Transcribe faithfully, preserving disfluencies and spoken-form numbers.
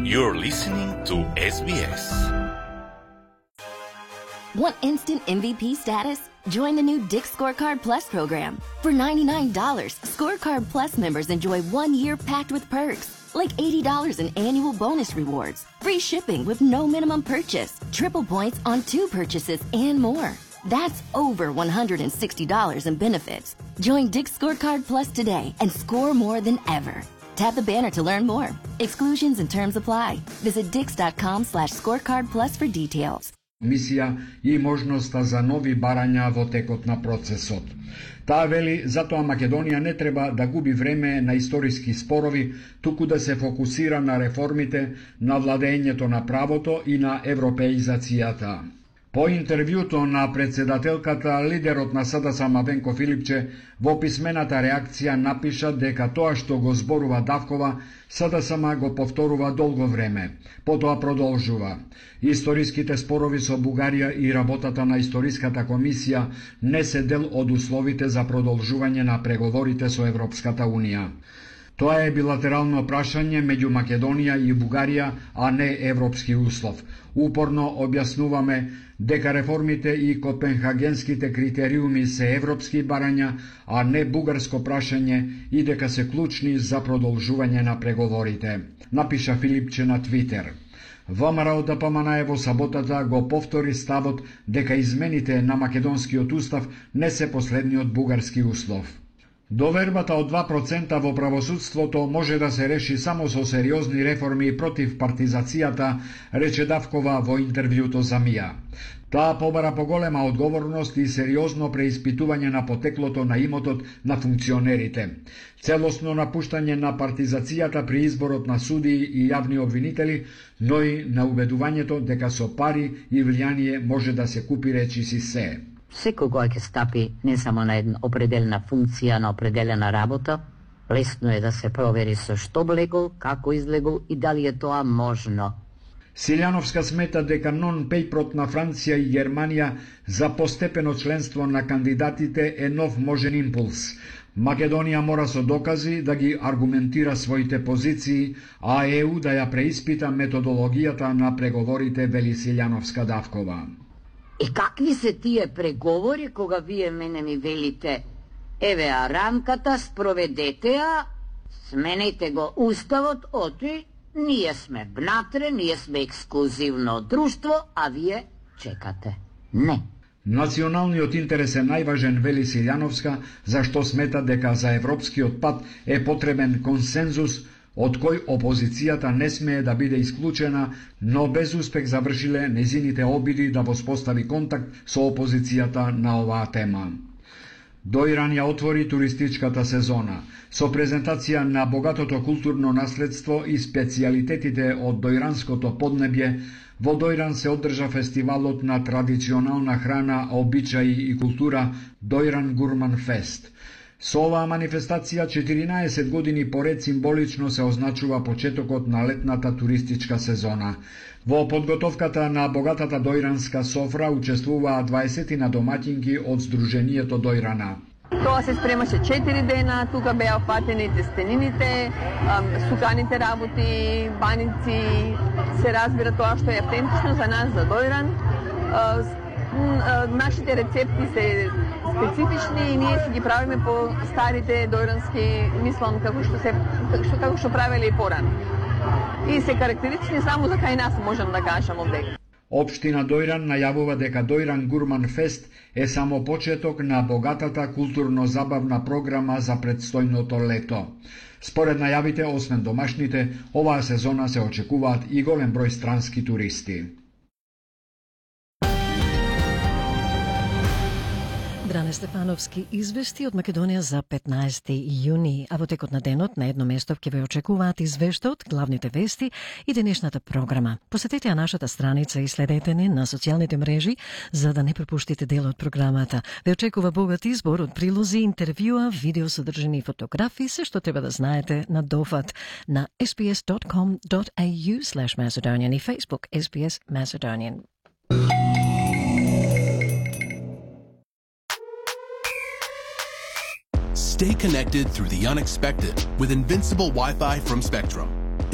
You're listening to S B S. Want instant M V P status? Join the new Dick's Scorecard Plus program. For ninety-nine dollars, Scorecard Plus members enjoy one year packed with perks, like eighty dollars in annual bonus rewards, free shipping with no minimum purchase, triple points on two purchases, and more. That's over one hundred sixty dollars in benefits. Join Dick's Scorecard Plus today and score more than ever. Tap the banner to learn more. Exclusions and terms apply. Visit dix.com slash scorecard plus for details. Мисија и можноста за нови барања во текот на процесот. Таа вели, затоа Македонија не треба да губи време на историски спорови, туку да се фокусира на реформите, на владењето на правото и на европеизацијата. По интервјуто на председателката, лидерот на СДСМ Мавенко Филипче во писмената реакција напиша дека тоа што го зборува Давкова, СДСМ го повторува долго време. Потоа продолжува. Историските спорови со Бугарија и работата на Историската комисија не се дел од условите за продолжување на преговорите со Европската Унија. Тоа е билатерално прашање меѓу Македонија и Бугарија, а не европски услов. Упорно објаснуваме дека реформите и копенхагенските критериуми се европски барања, а не бугарско прашање и дека се клучни за продолжување на преговорите, напиша Филипче на Твитер. ВМРО Д П М Н во саботата го повтори ставот дека измените на македонскиот устав не се последниот бугарски услов. Довербата од два процента во правосудството може да се реши само со сериозни реформи против партизацијата, рече Давкова во интервјуто за Мија. Таа побара поголема одговорност и сериозно преиспитување на потеклото на имотот на функционерите. Целосно напуштање на партизацијата при изборот на судии и јавни обвинители, но и на убедувањето дека со пари и влијание може да се купи речиси се. Секој кој ќе стапи не само на една определена функција, на определена работа, лесно е да се провери со што влегол, како излегол и дали е тоа можно. Силјановска смета дека нон-пейпрот на Франција и Германија за постепено членство на кандидатите е нов можен импулс. Македонија мора со докази да ги аргументира своите позиции, а Е У да ја преиспита методологијата на преговорите, вели Силјановска Давкова. И какви се тие преговори кога вие мене ми велите, еве а рамката, спроведете ја, сменете го уставот, оти, ние сме внатре, ние сме ексклузивно друштво, а вие чекате. Не. Националниот интерес е најважен, вели Силјановска, зашто смета дека за европскиот пат е потребен консензус, од кој опозицијата не смее да биде исклучена, но без успех завршиле незините обиди да воспостави контакт со опозицијата на оваа тема. Дојран ја отвори туристичката сезона. Со презентација на богатото културно наследство и специјалитетите од дојранското поднебје, во Дојран се одржа фестивалот на традиционална храна, обичаи и култура Дојран Гурман Фест. Со оваа манифестација четиринаесет години поред символично се означува почетокот на летната туристичка сезона. Во подготовката на богатата дојранска софра учествуваа дваесет на домаќинки од Сдруженијето Дојрана. Тоа се спремаше четири дена, тука беа фатени тестенините, суканите работи, баници, се разбира тоа што е автентично за нас, за Дојран. Нашите рецепти се специфични и ние си ги правиме по старите дојрански, мислам, како што се како што правеле и порано. И се карактеристични само за кај нас, можам да кажам овде. Општина Дојран најавува дека Дојран Гурман Фест е само почеток на богатата културно-забавна програма за предстојното лето. Според најавите, освен домашните, оваа сезона се очекуваат и голем број странски туристи. Дране Стефановски извести од Македонија за петнаесети јуни, а во текот на денот на едно место ќе ве очекуваат извештаот, главните вести и денешната програма. Посетете ја нашата страница и следете ни на социјалните мрежи за да не пропуштите дел од програмата. Ве очекува богат избор од прилози, интервјуа, видео содржини и фотографии, се што треба да знаете на дофат на ес би ес точка ком точка ей ю слеш Macedonian и Facebook ес би ес Macedonian. Stay connected through the unexpected with Invincible Wi-Fi from Spectrum.